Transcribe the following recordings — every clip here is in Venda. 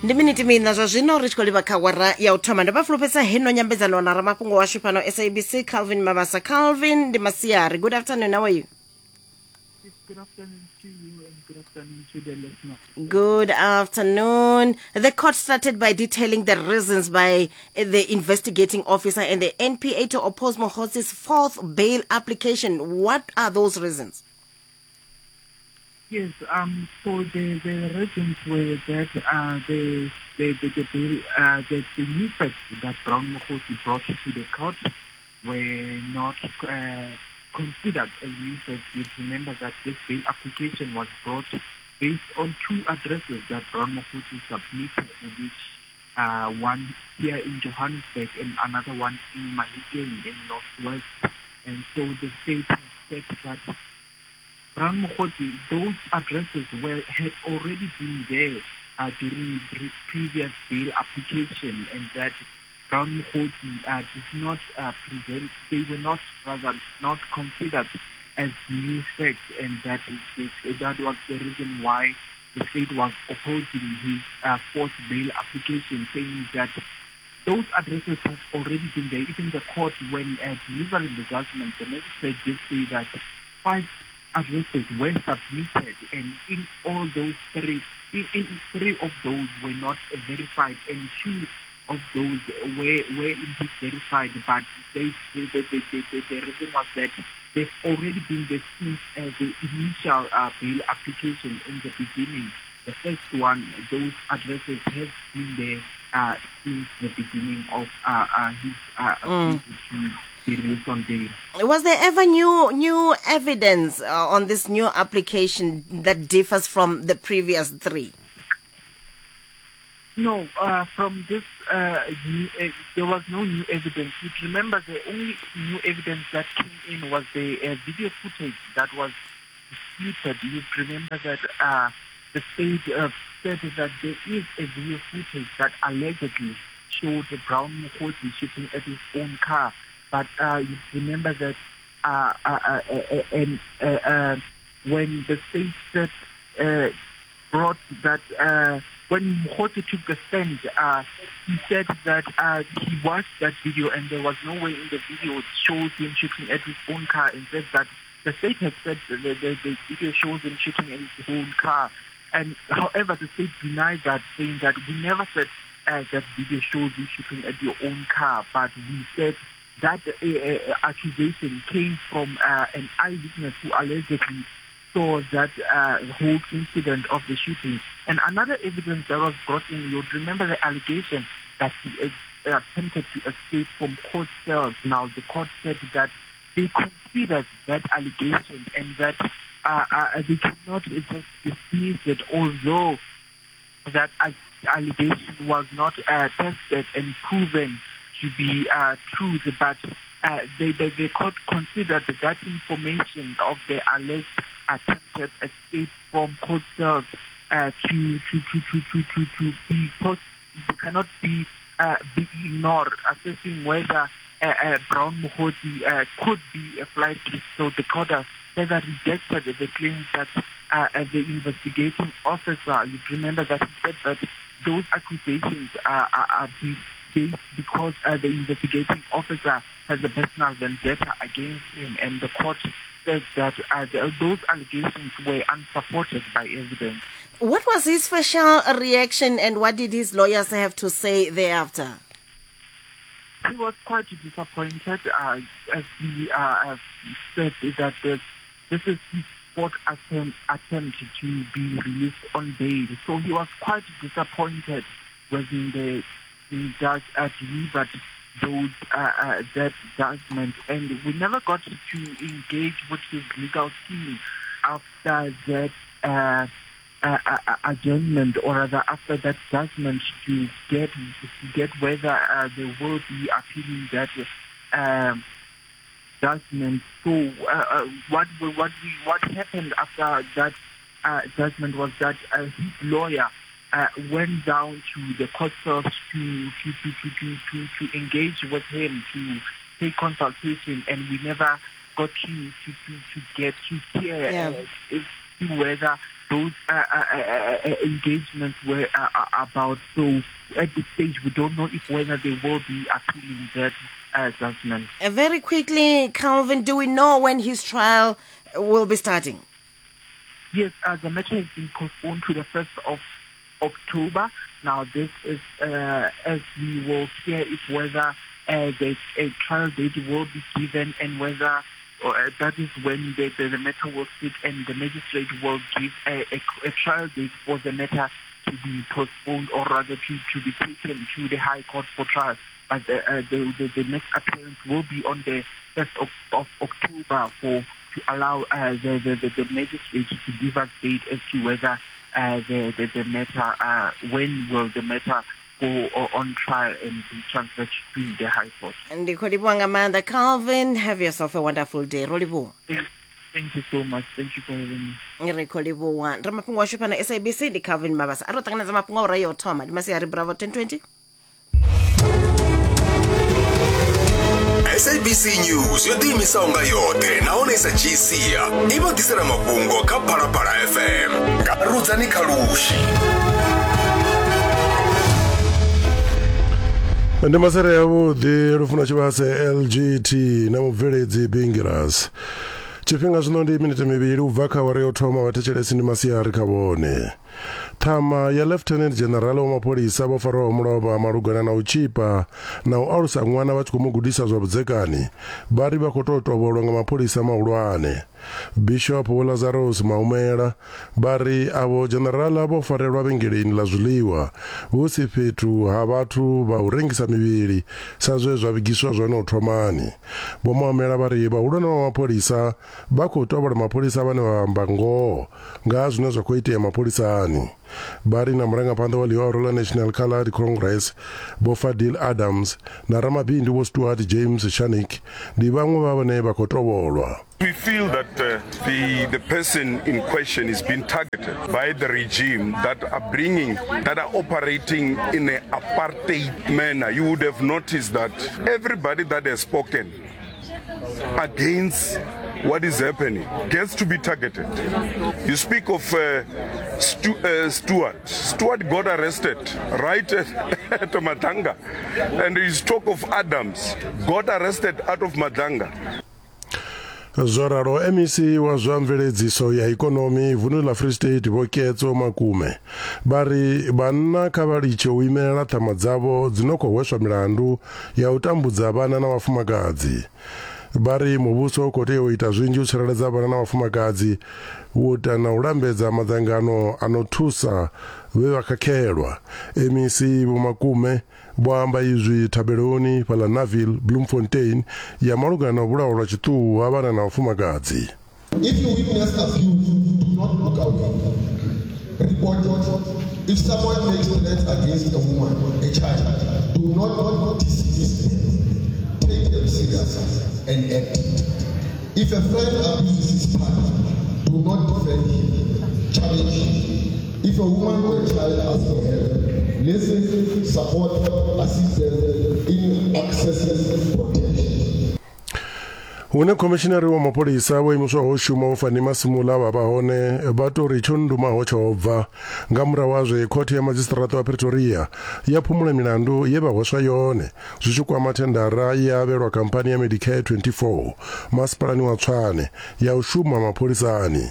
Ndi miniti miṋa zwa zwino ri tshi khou livha kha wara ya u thoma. Ndo vha fulufhedzisa heno nyambedzano na ramafhungo washu fhano SABC Calvin Mabasa. Calvin, ndi masiari. Good afternoon, how are you? Good afternoon to you and good afternoon to the listener. Good afternoon. The court started by detailing the reasons by the investigating officer and the NPA to oppose Mogotsi's fourth bail application. What are those reasons? Yes, so the reasons were that the new facts that Brown Mogotsi brought to the court were not considered as new facts. You remember that this bail application was brought based on two addresses that Brown Mogotsi submitted, which one here in Johannesburg and another one in Mahikeng in Northwest. And so the state has said that Brown Mogotsi, those addresses had already been there during the previous bail application, and that Brown Mogotsi did not present, they were not, rather, not considered as new facts, and that was the reason why the state was opposing his fourth bail application, saying that those addresses have already been there. Even the court, when delivering the judgment, the magistrate did say that 5 addresses were submitted, and in all those three, in three of those were not verified, and 2 of those were indeed verified, but the reason was that they've already been there since the initial bail application in the beginning. The first one, those addresses have been there since the beginning of his to be released on bail. Was there ever new evidence on this new application that differs from the previous 3? No, from this, there was no new evidence. You remember the only new evidence that came in was the video footage that was disputed. You remember that the state said that there is a video footage that allegedly showed Brown Mogotsi shooting at his own car. But you remember that when the state said, brought that... when Mogotsi took the stand, he said that he watched that video and there was no way in the video it shows him shooting at his own car, and said that the state has said the video shows him shooting at his own car. And however, the state denied that, saying that we never said that video shows you shooting at your own car, but we said that accusation came from an eyewitness who allegedly saw that whole incident of the shooting. And another evidence that was brought in, you'd remember the allegation that he attempted to escape from court cells. Now, the court said that they considered that allegation and that they cannot just dismiss it, although that allegation was not tested and proven to be true, but the court considered that information of the alleged attempted escape from court cells to be post, cannot be ignored, assessing whether Brown Mogotsi could be a flight risk. So the court further rejected the claim that the investigating officer, you remember that he said that those accusations are based because the investigating officer has a personal vendetta against him, and the court said that those allegations were unsupported by evidence. What was his facial reaction, and what did his lawyers have to say thereafter? He was quite disappointed, as he said that this is his fourth attempt to be released on bail. So he was quite disappointed when the judge delivered those that judgment, and we never got to engage with his legal team after that adjournment, or rather after that judgment, to get whether they will be appealing that judgment. So what happened after that judgment was that his lawyer went down to the court cells to engage with him, to take consultation, and we never got to get to hear whether those engagements were about. So at this stage, we don't know if whether they will be appealing that judgment. Very quickly, Calvin, do we know when his trial will be starting? Yes, the matter has been postponed to the 1st of October. Now, this is as we will hear if whether the a trial date will be given and whether that is when the, the, the matter will sit and the magistrate will give a, a, a trial date for the matter to be postponed or rather to, to be taken to the High Court for trial. But the, the, the, the next appearance will be on the 1st of, of October for to allow the, the, the, the magistrate to give us date as to whether the, the, the matter, when will the matter go on trial and be transferred to the High Court. Ndi khou livhuwa nga maanḓa Calvin, have yourself a wonderful day. Ro livhuwa. Thank you so much. Thank you for having me. Ri khou livhuwa. Ndi mafhungo ashu fhano SABC ndi Calvin Mabasa. A ro ṱanganedza mafhungo a ura ya u thoma ndi masiari Bravo 1020. SABC News yo ḓiimisaho nga yoṱhe nahone i sa dzhii sia i vha ḓisela mafhungo kha Phalaphala FM nga Rudzani Khalushi. Ndi masere yavhuḓi Lufuno Tshivhase LGT na mubveledzi Bingiras. Tshifhinga zwino ndi minete mivhili u bva kha awara yo thoma vhathetshelesi ndi masiari kha vhone. Ṱhama ya Lieutenant General wa mapholisa vho farwaho mulovha malugana na u tshipa na u alusa ṅwana vha tshi khou mu gudisa zwa vhudzekani vha ri vha khou tou tovholwa nga mapholisa mahulwane. Bishop Vho Lazarus Maumela vha ri avho dzhenerala vho farelwa vhengeleni ḽa zwiḽiwa hu si fhethu ha vhathu vha u rengisa mivhili sa zwe zwa vhigiswa zwone u thomani. Vho Maumela vha ri vhahulwane vha mapholisa vha khou tovhola mapholisa vhane vha amba ngoho nga ha zwine zwa khou itea mapholisani. Vha ri na murangaphanḓa wa ḽihoro ḽa National Coloured Congress Vho Fadil Adams na ramabindu Vho Stuart James Scharnick ndi vhaṅwe vha vhane vha khou tovholwa. We feel that the, the person in question is being targeted by the regime that are bringing, that are operating in an apartheid manner. You would have noticed that everybody that has spoken against what is happening gets to be targeted. You speak of Stuart. Stuart got arrested right at, at Madlanga. And you talk of Adams, got arrested out of Madlanga. Zwo ralo, MEC wa zwa mveledziso ya ikonomi vundu ḽa Free State Vho Ketso Makume vha ri vhanna kha vha litshe u imelela ṱhama dzavho dzi no khou hweswa milandu ya u tambudza vhana na vhafumakadzi. Vha ri muvhuso u khou tea u ita zwinzhi u tsireledza vhana na vhafumakadzi, u ita na u lambedza madzangano a no thusa vhe vha khakhelwa. MEC Vho Makume vho amba izwi thabeloni fhaḽa Naville, Bloemfontein ya malugana na u vhulawa lwa tshiṱuhu ha vhana na vhafumakadzi. If you witness abuse, do not look away. Report it. If someone makes threats against a woman, a child, do not dismiss them. Take them serious and act. If a friend abuses his partner, do not defend him. Challenge him. If a woman or a child asks for help, listen, support, assist them in accessing protection. Hune khomishinari wa mapholisa vho imiswaho u shuma Vho Fannie Masemola vha vha hone vha tou ri tsho ndumaho tsho bva nga murahu ha zwe khothe ya madzhisiṱiraṱa wa Pretoria ya phumula milandu ye vha hweswa yone zwi tshi kwama thendara ye ya avhelwa khamphani ya Medicare 24 masipalani wa Tshwane ya u shuma mapholisani.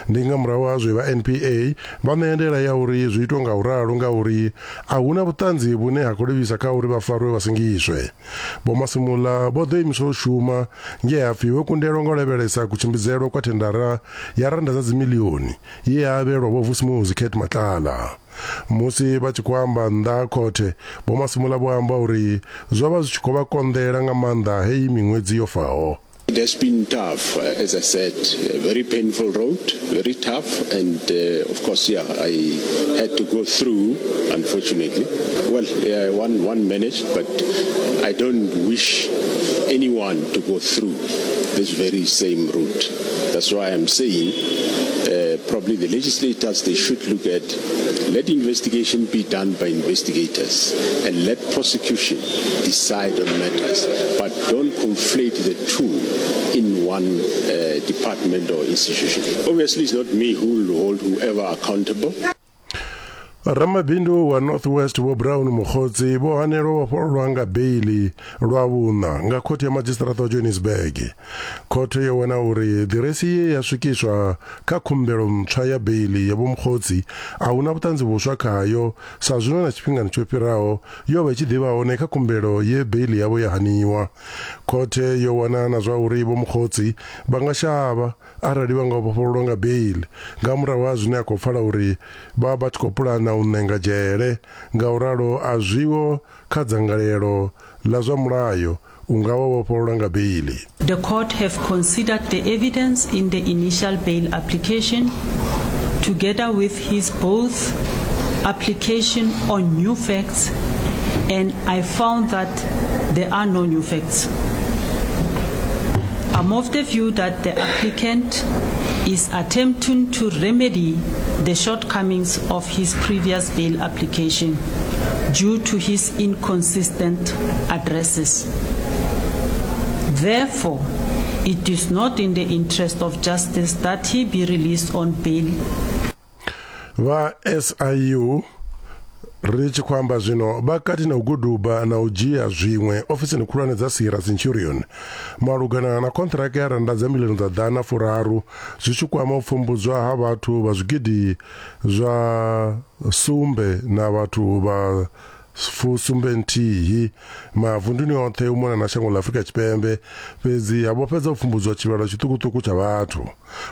Ndi nga murahu ha zwe vha NPA vha ṋea ndaela ya uri zwi itwe nga u ralo ngauri a hu na vhuṱanzi vhune ha khou livhisa kha uri vha farwe vha sengiswe. Vho Masemola vho ḓo imiswa u shuma nge ha pfi vho kundelwa nga u lavhelesa kutshimbidzelwe kwa thendara ya rannda dza dzimiḽioni ye ya avhelwa Vho Vusimuzi Cat Matlala. Musi vha tshi khou amba nnḓa ha khothe, Vho Masemola vho amba uri zwo vha zwi tshi khou vha konḓela nga maanḓa heyi miṅwedzi yo faho. It has been tough, as I said, a very painful road, very tough, and of course, yeah, I had to go through, unfortunately. Well, yeah, one, one managed, but I don't wish anyone to go through this very same route. That's why I'm saying Uh, probably the legislators, they should look at let investigation be done by investigators and let prosecution decide on matters, but don't conflate the two in one uh, department or institution. Obviously, it's not me who will hold whoever accountable. Ramabindu wa North West Vho Brown Mogotsi vho hanelwa u vhofhololwa nga beiḽi lwa vhuṋa nga khothe ya madzhisiṱiraṱa wa Johannesburg. Khothe yo wana uri ḓiresi ye ya swikiswa kha khumbelo ntswa ya beiḽi ya Vho Mogotsi a hu na vhuṱanzi vhuswa khayo sa zwino na tshifhingani tsho fhiraho yo vha i tshi ḓi vha hone kha khumbelo ye beiḽi yavho ya haniwa. Khothe yo wana na zwa uri Vho Mogotsi vha nga shavha arali vha nga vhofhololwa nga beiḽi nga murahu ha zwine a khou pfala uri vha vha tshi khou pulana u ṋenga dzhele, ngauralo a zwiho kha dzangalelo ḽa zwa mulayo u nga vha vhofholola nga beiḽi. The court have considered the evidence in the initial bail application together with his both application on new facts and I found that there are no new facts. I'm of the view that the applicant is attempting to remedy the shortcomings of his previous bail application due to his inconsistent addresses. Therefore, it is not in the interest of justice that he be released on bail. Vha SIU ri tshi khou amba zwino vha kati na u guduba na u dzhia zwiṅwe ofisini khulwane dza Sierra Centurion malugana na konṱiraka ya rannda dza milioni dza ḓana furaru zwi tshi kwama u pfumbudzwa ha vhathu vha zwigidi zwa sumbe na vhathu vha fusumbe nthihi mavunduni oṱhe u mona na shango ḽa Afrika Tshipembe fhedzi ha vho fhedza u pfumbudzwa tshivhalo tshiṱukuṱuku tsha vhathu.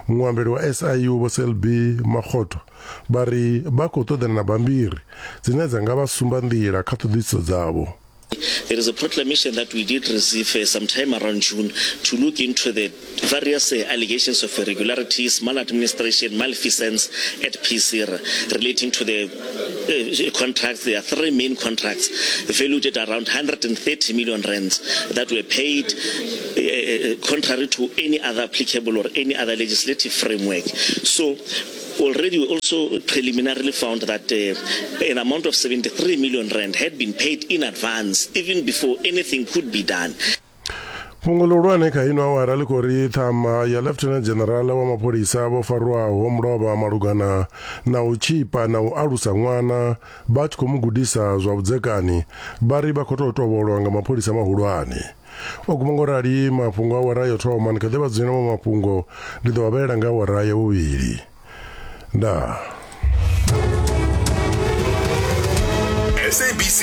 Muambeli wa SIU Vho Selby Makgotho vha ri vha khou ṱoḓana na bammbiri dzine dza nga vha sumba nḓila kha ṱhoḓisiso dzavho. There is a proclamation that we did receive uh, sometime around June to look into the various uh, allegations of irregularities, maladministration, malfeasance at PCR relating to the uh, contracts. There are three main contracts valued at around 130 million rands that were paid uh, uh, contrary to any other applicable or any other legislative framework. So already we also preliminarily found that uh, an amount of 73 million rand had been paid in advance even before anything could be done. Fhungo ḽihulwane kha ino awara ḽi khou ri ṱhama ya Lieutenant General wa mapholisa vho farwaho mulovha malugana na u tshipa na u alusa ṅwana vha tshi khou mu gudisa zwa vhudzekani vha ri vha khou tou tovholwa nga mapholisa mahulwane. O guma ngo rali mafhungo a awara yo thoma ndi kha ḓi vha dzulela maṅwe mafhungo ndi ḓo vha vhalela nga awara ya vhuvhili. Ndaa. SABC